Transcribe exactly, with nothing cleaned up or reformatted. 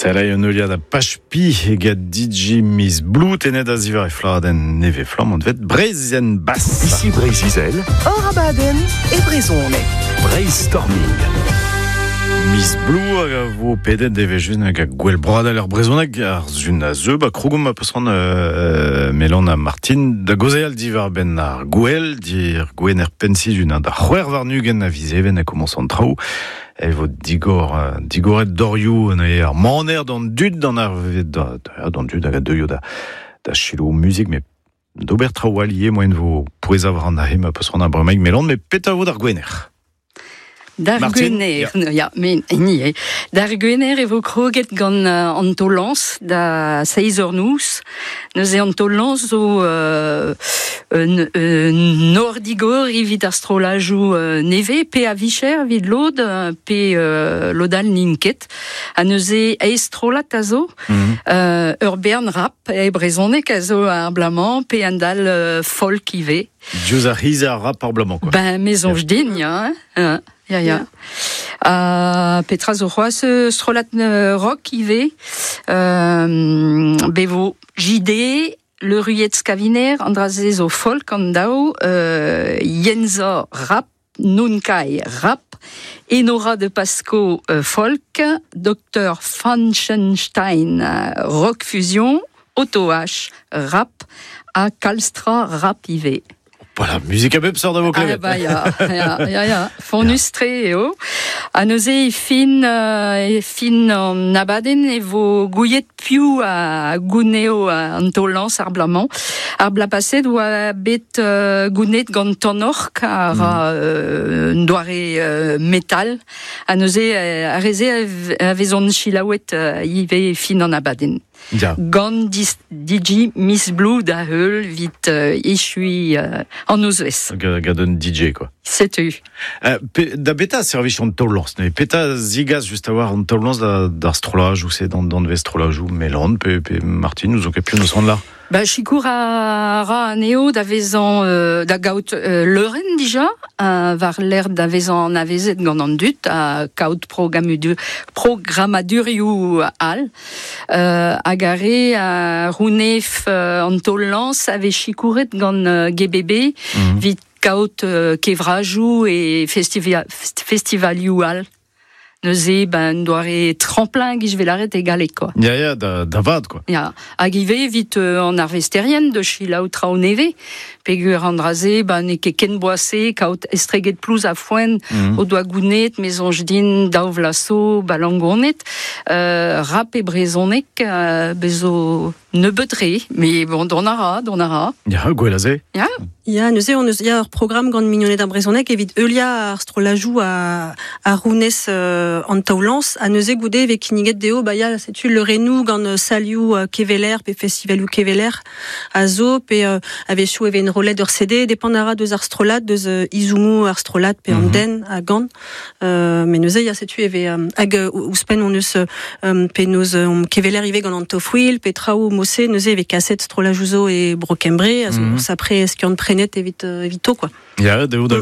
Sell un heuliad a pachpi eget D J Miss Blue tenet a zivar e fladenn neve flamm an vet Breizh Bass. Ici Breizh-Izel. Hor abadenn e brezhoneg. Brainstorming. Miss Blue hag a vo pedet devejun hag a gwell broadel ar brezhoneg ar zun a zeu ba krogom a peus euh, Melon a Martin da gozeal divar ben ar gwell dir gwen er pensi dun da c'hwer war nugen a vizeven a komañs an traoù. E vo digor, digoret dorioù an ar maner d'an dud d'an ar da, da, d'an dud hag a deuio da, da chilo muzik, me d'ober traoù allié moen vo pouez avr an ahe ma peus ran ar bremaik Melon, me peta vo d'ar gwener. D'ar gwener, ja, ja me ni, eh. D'ar gwener e vo kroget gant uh, an tolans da seiz eur nous. Neuze an tolans zo euh, un, un nordigor evit ar strolajou euh, neve, pe a vicher evit lod, pe euh, lodal ninket. A neuze eistrolat a zo, mm -hmm. euh, ur bern rap, e brezonek a zo ar blamant, pe an dal euh, folk ive. Diouz ar hiz ar rap ar blamant, quoi. Ben, mezonj yeah. din, ya, hein. Ya, ya. Uh, Petra zo c'hoazh strolat rock ive, euh, bevo J D, Le Ruet Skaviner, Andraze zo folk an daou, euh, Yenza rap, Nunkai rap, Enora de Pasco euh, folk, Docteur Frankenstein rock fusion, Otto H rap, a Kalstra rap ive. Voilà, musique a bep sort da vo klevet. Ah bah ya, ya, ya, ya. Fonustre eo. A neuze e fin, euh, e fin an abadenn e vo gouiet piou a gouneo an tolans ar blamant. Ar bla paset oa bet euh, gounet gant tanork ar mm. euh, doare euh, metal. A neuze a reze a vezon chilaouet euh, ive fin an abadenn. Ja. Gant D J Miss Blue da heul vit euh, echui euh, an ouzvez. Gant un D J, quoi. Setu. Euh, pe, da beta servich an taol-lañs, ne peta zigaz just a war an taol-lañs da, d'ar strolaj ou c'est d'an, d'an vez strolaj ou Melan, pe, pe Martin, nous ont ket nous rendre là. Ba, chikour a ra aneo da vezan euh, da gaout euh, leuren dija, euh, war l'air da vezan avezet gant an dut, a kaout programudu, programadurioù al. Euh, hag a re a rounef euh, an taol-lañs a vez chikouret gant euh, G B B, mm. vit kaout euh, kevrajou e festiva, festivalioù al. Neuze, ben, doare tremplin gij velaret egale, quoi. Ya, ya, da, da vad, quoi. Ya, hag ive vit euh, an arvesterien de chilaou traoù neve, pegur an draze, ben, ne ket ken boase, kaout estreget plouz a foen, mm. o doa gounet, mezonj din, daou vlaso, balangonet, euh, rap e brezonek, euh, bezo nebeut re, mais bon, don a ra, don a ra. Ya, gwell aze. Ya. Ya, neuze, on eus, ya ur programm gant mignoned ar brezhoneg evit heulia ar strolajou a, a rounez euh, an taol-lañs, a neuze goude evit kinniget dezho, ba ya, setu le renou gant salioù euh, keveler, pe festivalioù keveler, a zo, pe euh, a-wechoù e vez enrollet ur C D, depend a ra deus ar strolad, deus euh, izumoù ar strolad, pe an mm -hmm. den a gant. Euh, mais neuze, ya, setu eve, euh, hag euh, ouzhpenn on eus, euh, pe noz euh, keveler ive gant an tofwil, pe traoù mose, neuze eve kaset strolajou zo e Bro Kembre, a zo mm -hmm. sapre skiant prenet evit, euh, evito, quoi. Ya, dezho da